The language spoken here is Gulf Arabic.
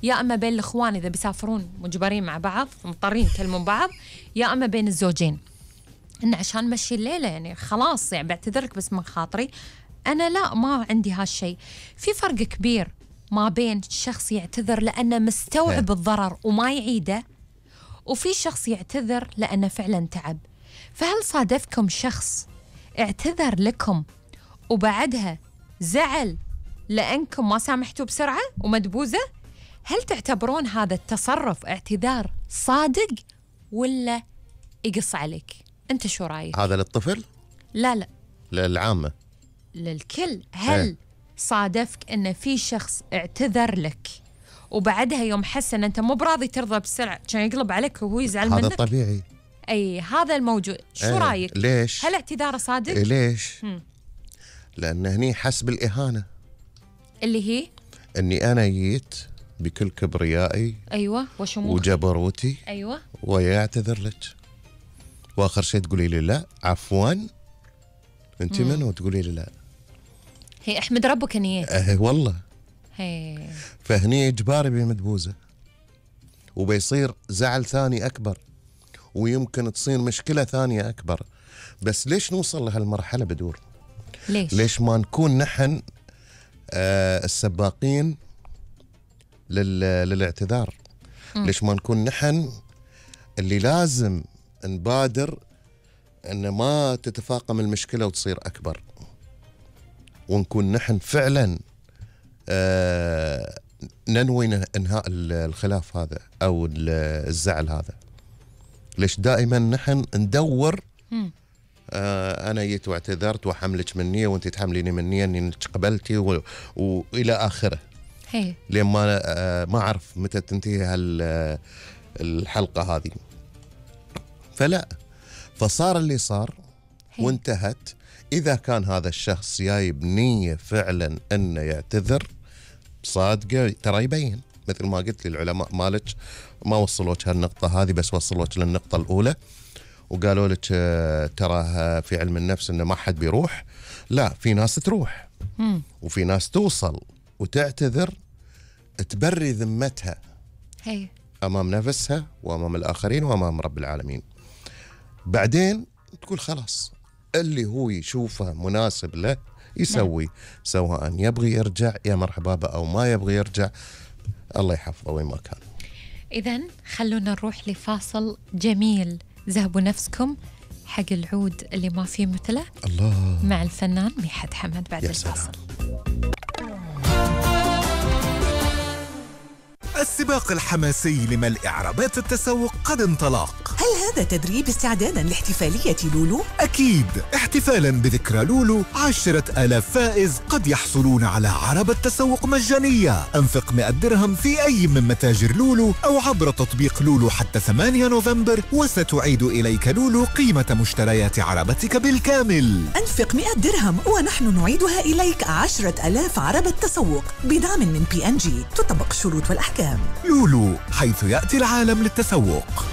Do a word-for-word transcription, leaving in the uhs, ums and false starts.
يا أما بين الإخوان إذا بيسافرون مجبرين مع بعض مضطرين يكلمون بعض، يا أما بين الزوجين إن عشان مشي الليلة يعني خلاص يعني بعتذرك بس من خاطري. أنا لا، ما عندي هالشيء. في فرق كبير ما بين شخص يعتذر لأنه مستوعب الضرر وما يعيده، وفي شخص يعتذر لأنه فعلا تعب. فهل صادفكم شخص اعتذر لكم وبعدها زعل لأنكم ما سامحتوا بسرعة ومدبوزة؟ هل تعتبرون هذا التصرف اعتذار صادق ولا يقص عليك؟ أنت شو رأيك؟ هذا للطفل؟ لا لا للعامة، للكل. هل ايه؟ صادفك أن في شخص اعتذر لك وبعدها يوم حس أن أنت مو براضي ترضى بسرعة كان يقلب عليك وهو يزعل منك؟ هذا طبيعي. أي هذا الموجود. شو ايه؟ رأيك؟ ليش؟ هل اعتذاره صادق؟ إيه ليش؟ هم. لأن هني حس بالإهانة اللي هي أني أنا جيت بكل كبريائي أيوة وشموخي وجبروتي أيوة ويعتذر لك، وآخر شيء تقولي لي لا عفوا أنت من وتقولي لي لا. هي احمد ربك اني أه والله. هي فهني إجباري بمدبوزة وبيصير زعل ثاني أكبر ويمكن تصير مشكلة ثانية أكبر. بس ليش نوصل لهالمرحلة بدور؟ ليش؟ ليش ما نكون نحن آه السباقين للاعتذار؟ م. ليش ما نكون نحن اللي لازم نبادر أن ما تتفاقم المشكلة وتصير أكبر، ونكون نحن فعلا آه ننوي انهاء الخلاف هذا أو الزعل هذا؟ ليش دائما نحن ندور آه أنا جيت واعتذرت وحملك مني وأنت تحمليني مني أنك قبلتي و... وإلى آخره. هي. لين ما آه ما أعرف متى تنتهي الحلقة هذه. فلا، فصار اللي صار هي. وانتهت. إذا كان هذا الشخص جاي بنية فعلا أنه يعتذر صادقة ترى يبين، مثل ما قلت لي العلماء مالك ما وصلوك هالنقطة هذه، بس وصلوك للنقطة الأولى وقالوا لك ترى في علم النفس إنه ما حد بيروح. لا، في ناس تروح مم. وفي ناس توصل وتعتذر تبري ذمتها هي. أمام نفسها وأمام الآخرين وأمام رب العالمين. بعدين تقول خلاص اللي هو يشوفه مناسب له يسوي، نعم. سواء يبغي يرجع يا مرحبا به أو ما يبغي يرجع، الله يحفظه وين ما كان. إذن خلونا نروح لفاصل جميل. ذهبوا نفسكم حق العود اللي ما فيه مثله الله مع الفنان ميحد حمد بعد الفاصل. السباق الحماسي لملء إعرابات التسوق قد انطلق. هل هذا تدريب استعدادا لاحتفالية لولو؟ أكيد، احتفالا بذكرى لولو عشرة آلاف فائز قد يحصلون على عربة تسوق مجانية. أنفق مئة درهم في أي من متاجر لولو أو عبر تطبيق لولو حتى ثمانية نوفمبر وستعيد إليك لولو قيمة مشتريات عربتك بالكامل. أنفق مئة درهم ونحن نعيدها إليك عشرة آلاف عربة تسوق بدعم من بي إن جي. تطبق الشروط والأحكام. لولو، حيث يأتي العالم للتسوق.